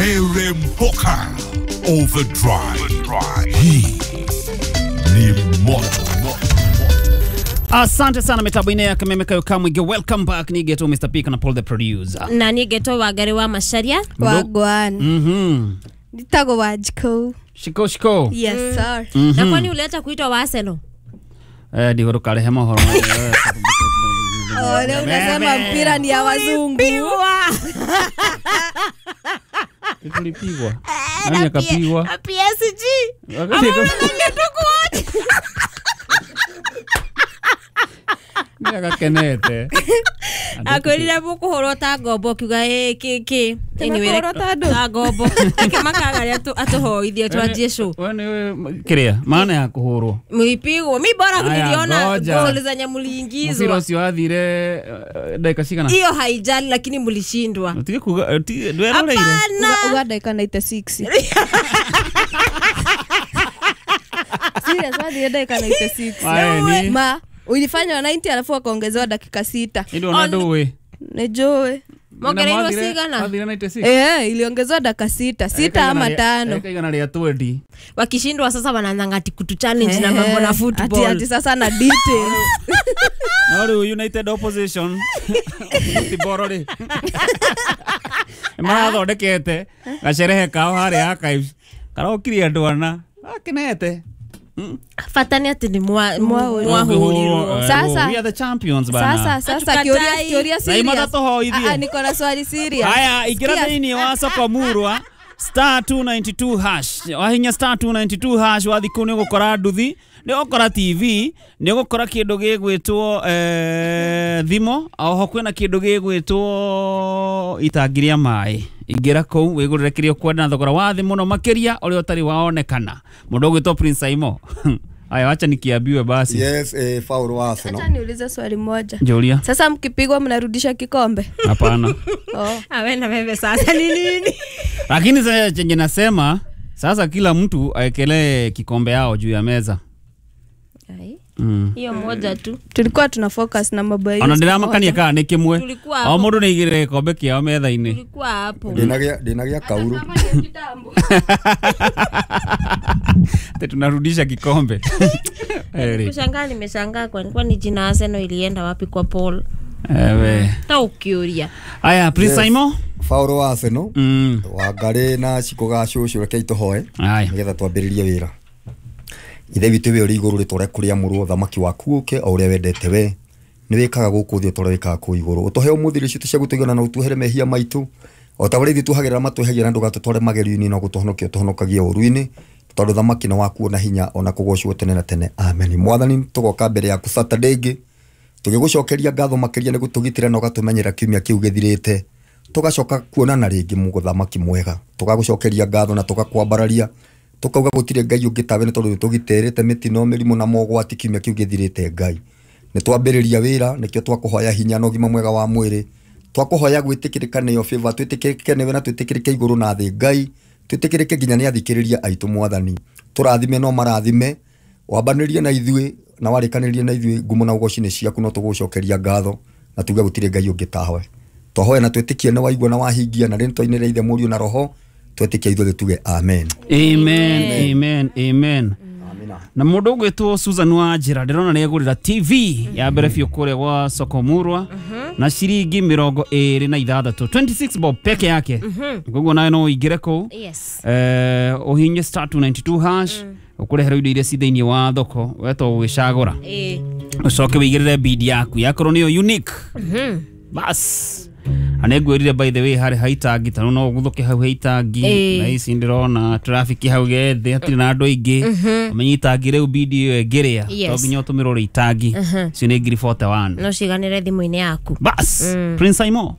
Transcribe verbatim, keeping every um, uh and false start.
Rere Mpoka Overdrive. Hii ni moto. Asante sana mitambo ine ya Kameme Kayo Kamwige. Welcome back ni Geto Mister P na Paul the producer. Na ni Geto Wangari wa Macharia. Wagwan. Mhm. Nitago Wajiko. Shiko shiko. Yes mm. sir. Mm -hmm. Na kwani uliacha kuitwa wa Arsenal? Eh ndio rukarehe mohoro. Oh, leo unasema mpira ni ya wazungu. Tulipigwa. Nani akapigwa? P S G. Ama ndio Nĩagakenete. Akwĩrire mũkũhũrwo ta ngombo kiuga ĩ kĩ kĩ. Anyway, ta ngombo. Akĩmakaga atũhoithie twanjie show. Wewe nĩ kĩrĩa maana ya kũhũrwo. Mlipigwo. Mi bora niliona goli zenye mliingizwa. Mũbira ũcio wathire dakika cigana? Hiyo haijali lakini mlishindwa. Utige kuga ndweroreire. Uga dakika ninety-six. Serious wathire dakika ninety-six. Ma ulifanywa ninety alafu akaongezewa dakika sita. Ndio na Nejoe. Mongereirwo cigana? Eh, iliongezewa dakika sita, sita ama tano. Dakika igana rĩa twenty. Wakishindwa sasa wanaanza ati kutu challenge na mambo na football. Ati ati sasa na details. Na rĩu United Opposition. Football rĩ. Marathondekete gacerehe kao harĩa archives. Karokire andũ ana. Akenete. Fata ni ati ni mwa mwahurirwo. Sasa we are the champions bana. Sasa sasa kioria kioria serious. Ah, niko na swali serious. Haya, ingira thĩinĩ wa soko murwa star two ninety-two hash. Wahinya star two ninety-two hash wathi kũu nĩ ũgũkora nduthi, nĩ ũgũkora T V, nĩ ũgũkora kĩndũ gĩgwĩtwo eh thimo, oho kwĩna kĩndũ gĩgwĩtwo itangi rĩa maĩ. Ingĩra kũu wĩgũrĩre kĩrĩa ũkwenda na thogora wa thĩ mũno makĩria ũrĩa ũtarĩ waonekana. Mũndũ ũgwĩtwo Prince Aimo. Aya, wacha nikiambiwe basi. Yes, eh faulu wa Arsenal. Acha niulize swali moja. Julia. Sasa mkipigwa mnarudisha kikombe? Hapana. Oh. Awe na wewe sasa ni nini? Lakini sasa chenye nasema, sasa kila mtu aekelee kikombe yao juu ya meza. Ai. Mm. Hiyo moja tu. Tulikuwa tuna focus na mambo hiyo. Ona ndiramakania kana ni kimwe. O mundu ni igire kikombe kiao metha-ini. Tulikuwa hapo. Ndinagia ndinagia kauru. Te tunarudisha kikombe. Kushangaa nimeshangaa kwa kwani jina Arsenal ilienda wapi kwa Paul? Ewe. Ta ukiuria. Aya, Prince Simon. Faulu wa Arsenal. Mm. Wangari na ciko ga cucu reke ituhoe. Nigetha twambĩrĩrie wĩra. Ithe witũ we ũrĩ igũrũ rĩtwa rĩaku rĩamũrwo, thamaki waku ũke o ũrĩa wendete we nĩ wĩkaga gũkũ thĩ o ta ũrĩa wĩkaga kũu igũrũ. Ũtũhe ũmũthĩ irio citũ cia gũtũigana na ũtuohere mehia maitũ o ta ũrĩa ithuĩ tuohagĩra matwĩhagia, na ndũgatũtware magerio-inĩ no gũtũhonokia ũtũhonokagie ũũru-inĩ, tondũ thamaki nĩ waku na hinya ona kũgocwo tene na tene. Amen. Mwathani, tũgoka mbere yaku Saturday ĩngĩ tũgĩgũcokeria ngatho makĩria nĩ gũtũgitĩra na ũgatũmenyera kiumia kĩu gĩthirĩte. Tũgacoka kuonana rĩngĩ mũthamaki mwega, tũgagũcokeria ngatho na tũgakwambararia, tukauga gutire Ngai ungi tawe ni tondu tugiterete mitino mirimu na mogwati kiumia kiu githirite. Ngai ni twambiriria wira, nikio twakuhoya hinya na ugima mwega wa mwiri, twakuhoya gwitikirika niyo favor, twitikirike niwe na twitikirike iguru na thi. Ngai twitikirike nginya ni athikiriria aitu. Mwathani turathime no marathime, wambanirie na ithuĩ na warikanirie na ithuĩ, ngumo na ugoci ni ciaku, no tugucokeria ngatho na tuge gutire Ngai ungi tawe. Twahoya na twitikie na waigua na wahingia, na rĩtwa-inĩ rĩa Ithe, Mũriũ na Roho twetikia ithuothe tuge amen. Amen, amen, amen. Na mundu ugwitwo Susan Wanjira ndirona ni egurira T V ya mbere biũ kũrĩa gwa soko murwa na ciringi mĩrongo ĩrĩ na ithathatũ twenty-six bob peke yake. Koguo nawe no ũingĩre kũu. Yes. Eh ũhinye star two ninety-two hash ũkũreherwo indo iria ci thĩinĩ wa thoko wetwo gwĩcagũra. Eh. Ũcoke wĩigĩrĩre bid yaku yakorwo nĩyo unique. Bas. Anegwirire by the way hari haitangi tano no guthuke hau haitangi na ici ndirona traffic hau gethe hatirĩ na andũ aingĩ ũmenye itangi rĩu bidi ĩyo ĩngĩrĩa to nginya ũtũmĩrwo rĩ itangi icio nĩ ngiri forty-one no ciganĩre thimũ-inĩ yaku. Bas. Prince Aimo.